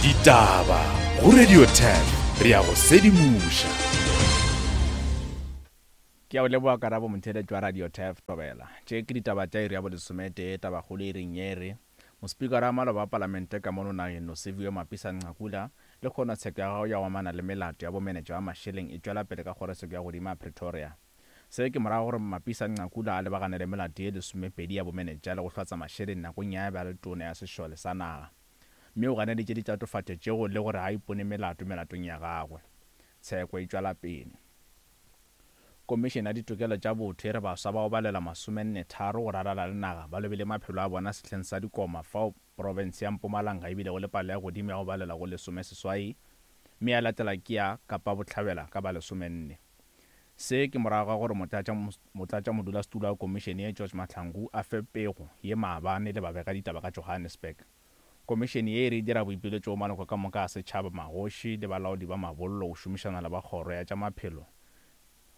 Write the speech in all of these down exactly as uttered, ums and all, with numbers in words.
Ditaba go Radio ten re ya go sedimoša. Ke a o leboga Karabo motheeletši wa Radio Turf Thobela. Tše ke ditaba tša iri ya bolesometee tabakgolo e reng ye re Mospikara wa maloba wa Palamente ka mono nageng Nosiviwe Mapisa Nqakula le kgono tsheko ya gagwe ya go amana le melato ya bomenetša wa mašeleng e tšwela pele ka kgorotsheko ya godimo ya Pretoria. Se ke morago gore Mapisa Nqakula a lebagane le melato ye lesomepedi ya bomenetša le go hlwatsa mašeleng nakong ya bjale tona ya sešole sa naga. Mme o ganeditše ditatofatšo tšeo le gore ga ipone melato melatong ya gagwe. Tsheko e tšwela pele. Komišene ya ditokelo tša botho e re baswa ba go balela masomenne tharo go ralala le naga ba lobile maphelo a bona sehleng sa dikoma fao profense ya Mpumalanga e bilego le palo ya godimo ya go balela go lesomeseswai mme ya latela ke ya Kapa Bohlabela ka ba lesomenne. Se ke morago ga gore motlatšamodulasetulo wa komišene ye George Mahlangu a fe pego ye maabane le babegaditaba ka Johannesburg. Komišene ye e re e dira boipiletšo go maloko ka moka a setšhaba, magoši le balaodi ba mabollo go šomišana le ba kgoro ya tša maphelo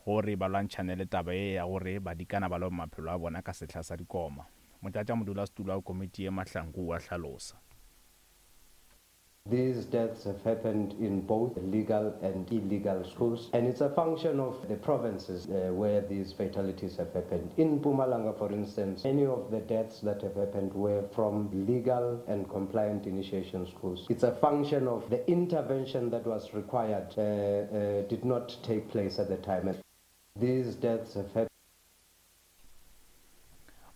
gore ba lwantšhane le taba ye ya gore badikana ba lobe maphelo a bona ka sehla sa dikoma. Motlatšamodulasetulo wa komiti ye Mahlangu o a hlalosa. These deaths have happened in both legal and illegal schools, and it's a function of the provinces uh, where these fatalities have happened. In Mpumalanga, for instance, many of the deaths that have happened were from legal and compliant initiation schools. It's a function of the intervention that was required uh, uh, did not take place at the time. These deaths have happened.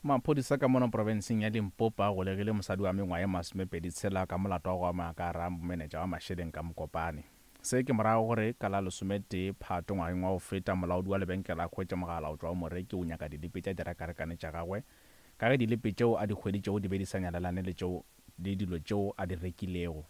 Maphodisa ka mono profenseng ya Limpopo a golegile mosadi wa mengwaga ye masomepedi tshela ka molato wa go ama ka gare ga bomenetša wa mašeleng ka Mokopane. Se ke morago gore ka la lesometee Phato ngwageng wa go feta molaodi wa lebenkele a hwetše mogala go tšwa go moreki o nyaka dilipi tša direkarekane tša gagwe ka ge dilipi tšeo a di hweditšego di be di sa nyalelane le tšeo le dilo tšeo a di rekilego.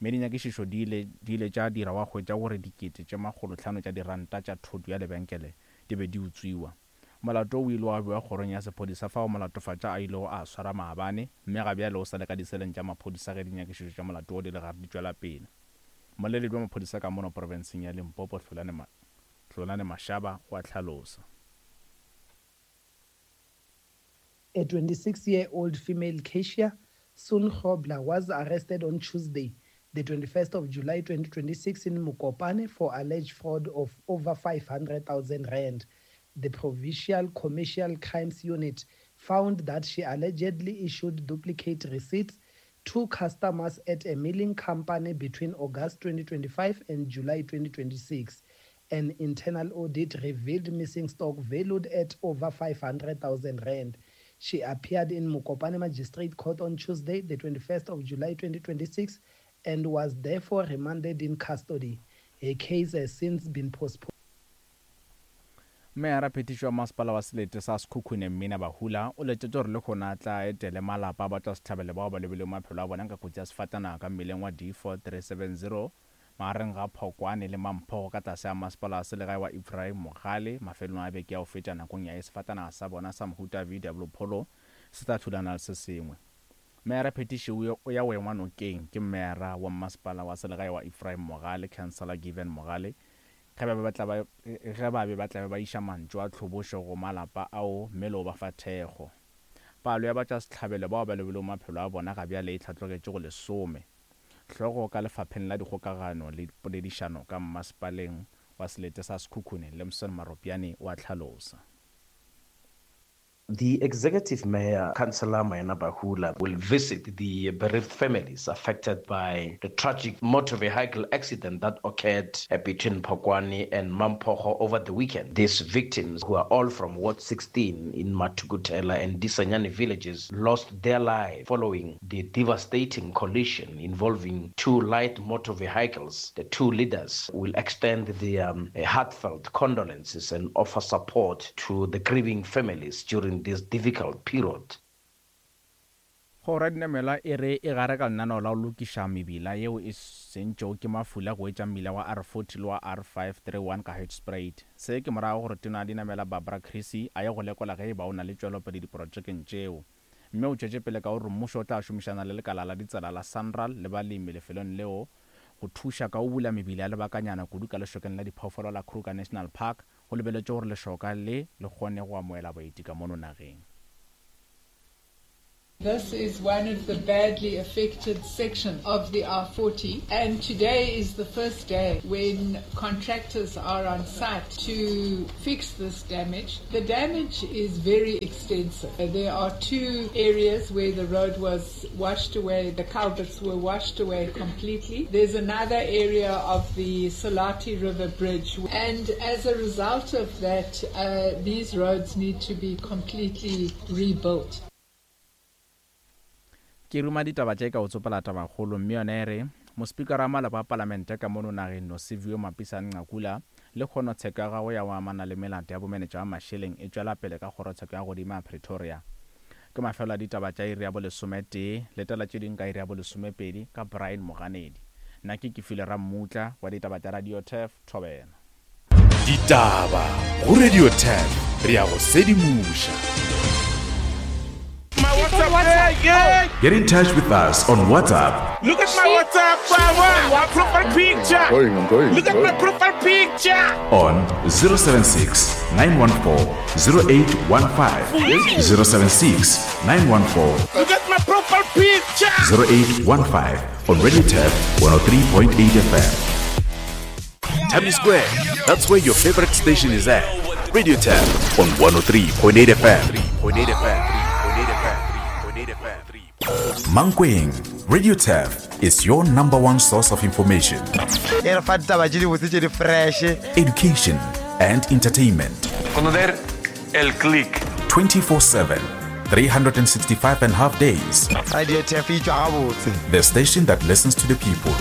Mme dinyakišišo di ile di ile tša dira wa hwetša gore dikete tše makgolohlano tša diranta tša thoto ya lebenkele di be di utswiwa. Molato o ile wa bewa kgorong ya sephodisa fao molatofatša a ilego a swara maabane, mme ga bjale o sa le ka diseleng tša maphodisa ge dinyakišišo tša molato wo di le gare di tšwela pele. Mmoleledi wa maphodisa ka mono profenseng ya Limpopo Hlolane, Ma Hlolane Mashaba o a hlalosa. A twenty-six-year-old female cashier, Sun Grobler, was arrested on Tuesday, the twenty-first of July twenty twenty-six in Mokopane for alleged fraud of over five hundred thousand rand. The Provincial Commercial Crimes Unit found that she allegedly issued duplicate receipts to customers at a milling company between August twenty twenty-five and July twenty twenty-six. An internal audit revealed missing stock valued at over five hundred thousand rand. She appeared in Mokopane Magistrate Court on Tuesday, the twenty-first of July twenty twenty-six, and was therefore remanded in custody. Her case has since been postponed. Meyara phetišo wa masepala wa selete sa Sekhukhune Mmina Bahula o letšetše gore le kgona a tla etele malapa a batšwasehlabelo bao ba lobilego maphelo a bona ka kotsi ya sefatanaga ka mmileng wa D four three seven zero magareng ga Phokwane le Mamphogo ka tlase ga masepala wa selegae wa Ephraim Mogale mafelong a beke ya go fetša nakong ya ge sefatanaga sa bona sa mohuta V W Polo se tla thulana le se sengwe. Meyara phetiši o ya go engwa nokeng ke meyara wa masepala wa selegae wa Ephraim Mogale, Councillor Given Mogale, ge ba be ba tla ba ge ba be ba tla be ba iša mantšu a tlhobošo go malapa ao mme le go ba fa thekgo. Palo ya batšwasehlabelo bao ba lobilego maphelo a bona ga bjale e hlatlogetše go lesome. Hlogo ka lefapheng la dikgokagano le dipoledišano ka mmasepaleng wa selete sa Sekhukhune, Lemson Maropiane o a hlalosa. The Executive Mayor, Councillor Maina Bahula, will visit the bereaved families affected by the tragic motor vehicle accident that occurred between Phokwane and Mamphogo over the weekend. These victims, who are all from Ward sixteen in Matukutela and Disanyani villages, lost their lives following the devastating collision involving two light motor vehicles. The two leaders will extend their um, heartfelt condolences and offer support to the grieving families during this difficult period. Kgoro ya dinamelwa e re e gare ka lenaneo la go lokiša mebila yeo e sentšego ke mafula go etša mmila wa R forty le wa R five three one ka Hoedspruit. Se ke morago gore tona ya dinamela Barbara Creecy a ye go lekola ge e ba o na le tšwelopele diprotšekeng tšeo. Mme o tšwetše pele ka gore mmušo o tla šomišana le lekala la ditsela la Sanral le balemi lefelong leo go thuša ka go bula mebila ya lebakanyana kudu ka lešokeng la diphoofolo la Kruger National Park go lebeletše gore lešoka le le kgone go amoela baeti ka mono nageng. This is one of the badly affected sections of the R forty, and today is the first day when contractors are on site to fix this damage. The damage is very extensive. There are two areas where the road was washed away, the culverts were washed away completely. There's another area of the Salati River Bridge, and as a result of that, uh, these roads need to be completely rebuilt. Ke ruma ditaba tše ka o tsopela tabakgolo mme yona e re mospikara wa malapa a palamente ka mono nageng Nosiviwe Mapisa-Nqakula le kgono tsheko ya gagwe ya go amana le melato ya bomenetša wa mašeleng e tšwela pele ka kgorotsheko ya godimo ya Pretoria. Ke mafelo a ditaba tša iri ya bolesometee letela tše ding ka iri ya bolesomepedi ka Brian Moganedi. Nna ke Kefile Rammutla wa ditaba tša Radio Turf Thobela. Ditaba go Radio Turf re ya go sedimoša. My WhatsApp, WhatsApp. Yeah. Get in touch with us on WhatsApp. Look at my WhatsApp, my profile picture. I'm going, I'm going. Look I'm at going. my profile picture. On zero seven six, nine one four, zero eight one five. zero seven six, nine one four. Look at my profile picture. zero eight one five on Radio Turf one oh three point eight F M. Tammy Square, that's where your favorite station is at. Radio Turf on one oh three point eight F M. three point eight F M. Mankweng, Radio Turf is your number one source of information, education, and entertainment. Conocer el click. twenty-four seven, three hundred sixty-five and a half days. Radio Turf e tšwa gabotse. The station that listens to the people.